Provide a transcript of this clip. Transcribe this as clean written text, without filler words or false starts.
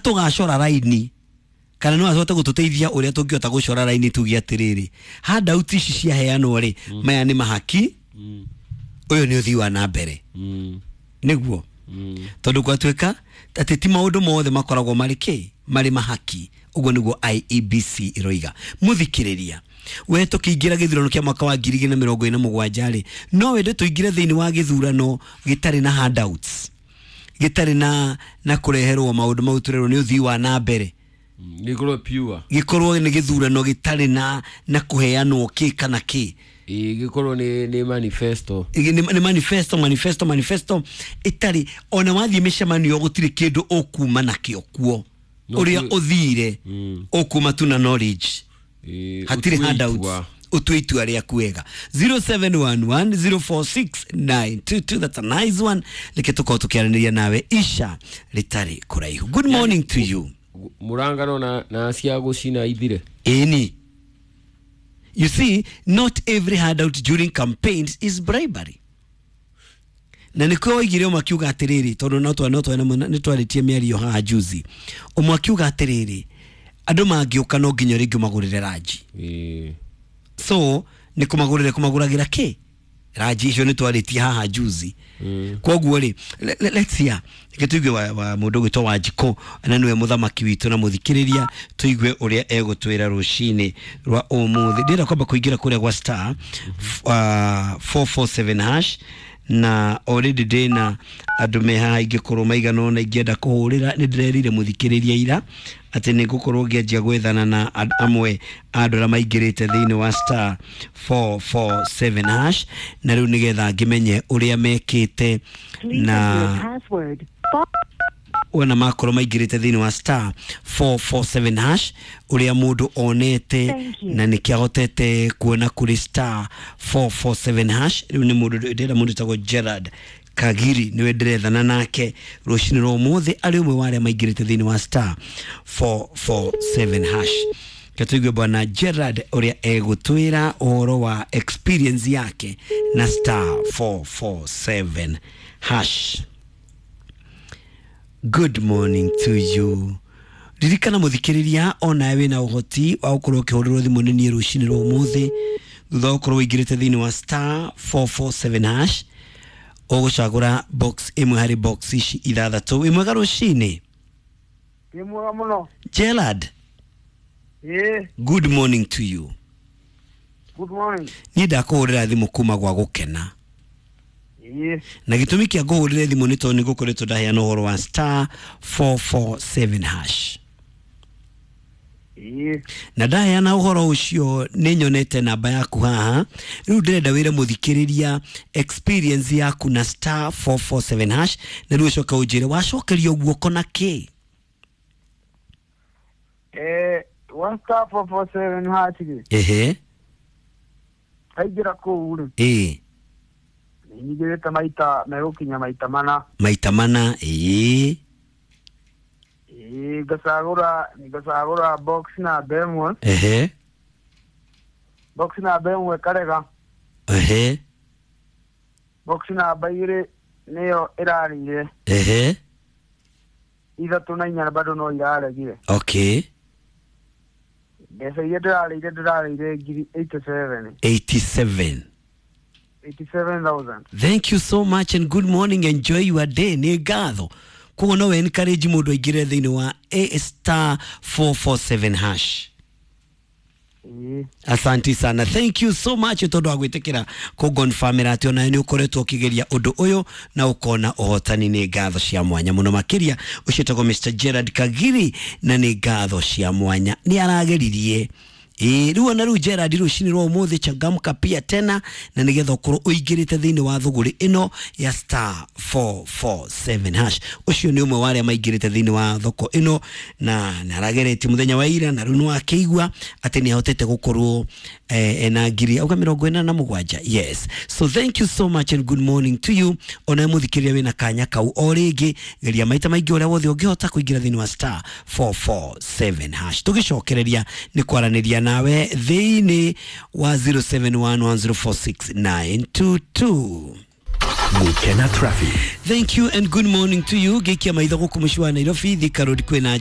Tũgacora raini kana no ahote gũtũteithia ũrĩa tũngĩhota gũcora raini tuge atĩrĩrĩ, handout ici ciaheanwo rĩ, maya nĩ mahaki, ũyũ nĩ ũthii wa na mbere, nĩguo tondũ gwatuĩka atĩ ti maũndũ mothe makoragwo marĩ kĩ marĩ mahaki. Ũguo nĩguo IEBC ĩroiga. Mũthikĩrĩria, we tũkĩingĩra gĩthurano kĩa mwaka wa 2027 rĩ, no wende tũingĩre thĩinĩ wa gĩthurano gĩtarĩ na handouts, gĩtarĩ na kũreherwo maũndũ mau tũrerwo nĩ ũthii wa na mbere? Gĩkorwo pure. Gĩkorwo nĩ gĩthurano gĩtarĩ na kũheanwo kĩ kana kĩ. Ĩĩ, gĩkorwo nĩ manifesto. Nĩ manifesto, manifesto, manifesto ĩtarĩ ona wathiĩ mĩcemanio gũtirĩ kĩndũ ũkuma nakĩo kuo. No. Ũrĩa ũthire ũkuma tu na knowledge. Hatirĩ Ũtue handouts. itua. Ũtue itua rĩaku wega. 0711046922, that's a nice one. Reke tũkorwo tũkĩaranĩria nawe ica rĩtarĩ kũraihu. Good morning to you. Mũrangano na cia gũcina ithire. Ĩni, you see, not every handout during campaigns is bribery. Na nĩkĩo oigire ũmwe akiuga atĩrĩrĩ, tondũ no twa nĩ twarĩtie mĩario haha juzi, ũmwe akiuga atĩrĩrĩ, andũ mangĩũka no nginya rĩngĩ ũmagũrĩre ranji. So nĩ kũmagũrĩra kũmagũragĩra kĩ ranji icio nĩ twarĩtie haha juzi. Koguo rĩ, let's hear, reke tũigue wa mũndũ ũgwĩtwo Wanjikũ na nĩwe mũthamaki witũ na mũthikĩrĩria, tũigue ũrĩa egũtwĩra rũcinĩ rwa ũmũthĩ. Ndĩrenda kwamba kũingĩra kũrĩa gwa star 447 hash, na already ndĩna andũ me haha ingĩkorwo maigana ũna ingĩenda kũhũrĩra. Nĩ ndĩrerire mũthikĩrĩria ira atĩ nĩ ngũkorwo ngĩanjia gwethana na amwe a andũ arĩa maingĩrĩte thĩinĩ wa star 447 hash, na rĩu nĩgetha ngĩmenye ũrĩa mekĩte na wona makorwo maingĩrĩte thĩinĩ wa star 447 hash, ũrĩa mũndũ onete na nĩkĩ ahotete kuona kũrĩ star 447 hash. Rĩu nĩ mũndũ ndĩrenda, mũndũ wĩtagwo Gerard Kagiri nĩwe ndĩrethana nake rũcinĩ rwa ũmũthĩ, arĩ ũmwe wa arĩa maingĩrĩte thĩinĩ wa star 447 hash. Reke tũigue bwana Gerard ũrĩa egũtwĩra ũhoro wa experience yake na star 447 hash. Good morning to you. Ririkana mũthikĩrĩria, onawe wĩna ũhoti wa gũkorwo ũkĩhũrĩrwo thimũ nĩ niĩ rũcinĩ rwa ũmũthĩ thutha wa gũkorwo ũingĩrĩte thĩinĩ wa star 447 hash, ũgũcagũra box ĩmwe harĩ box ici ithathatũ. Wĩ mwega rũcinĩ? Ndĩ mwega mũno. Gerard. Ĩĩ. Good morning to you. Good morning. Niĩ ndakũhũrĩra thimũ kuma gwa gũkena. Na gĩtũmi kĩa ngũhũrĩre thimũ nĩ tondũ nĩ ngũkoretwo ndaheana ũhoro wa star 447 hash. Na ndaheana ũhoro ũcio nĩ nyonete namba yaku haha. Rĩu ndĩrenda wĩre mũthikĩrĩria experience yaku na star 447 hash, na rĩu ũcoke ũnjĩre wacokerio guoko na kĩ. One star 447 hash rĩ, kaingĩra kũu rĩ, nĩ nyingĩrĩte maita megũkinya maita 4. Maita 4, ĩĩ. Ĩĩ, ngacagũra box namba 1. Box namba 1 karega. Box namba 2 nĩyo ĩrarĩire. 3 na 4 bado no iraregire. Mbeca iria ndĩrarĩire ngiri 87. 87. 87,000. Thank you so much and good morning. Enjoy your day. Nĩ ngatho. Koguo no encourage mũndũ aingĩre thĩinĩ wa a star 447 hash. Ĩĩ. Asanti sana, thank you so much tondũ wa gwĩtĩkĩra kũngonfamĩra atĩ onawe nĩ ũkoretwo ũkĩgeria ũndũ ũyũ na ũkona ũhotani. Nĩ ngatho cia mwanya mũno makĩria. Ũcio etagwo Mr Gerard Kagiri na nĩ ngatho cia mwanya, nĩ arageririe. Ĩĩ, rĩu ona rĩu Gerard, rũcinĩ rwa ũmũthĩ changamka pia tena na nĩgetha ũkorwo ũingĩrĩte thĩinĩ wa thũgũrĩ ĩno ya star 447 hash. Ũcio nĩ ũmwe wa arĩa maingĩrĩte thĩinĩ wa thoko ĩno na nĩ arageretie mũthenya wa ira, na rĩu nĩ wakĩigua atĩ nĩ ahotete gũkorwo ena ngiri auga 87. Yes, so thank you so much and good morning to you. Ona mũthikĩrĩria wĩna kanya kau o rĩngĩ, geria maita maingĩ ũrĩa wothe ũngĩhota kũingĩra thĩinĩ wa star 447 hash. Tũgĩcokereria nĩ kwaranĩria nawe thĩinĩ wa 0711046922. Gukena Traffic. Thank you and good morning to you. Gĩikia maitho gũkũ mũciĩ wa Nairobi, Thika Road kwĩna.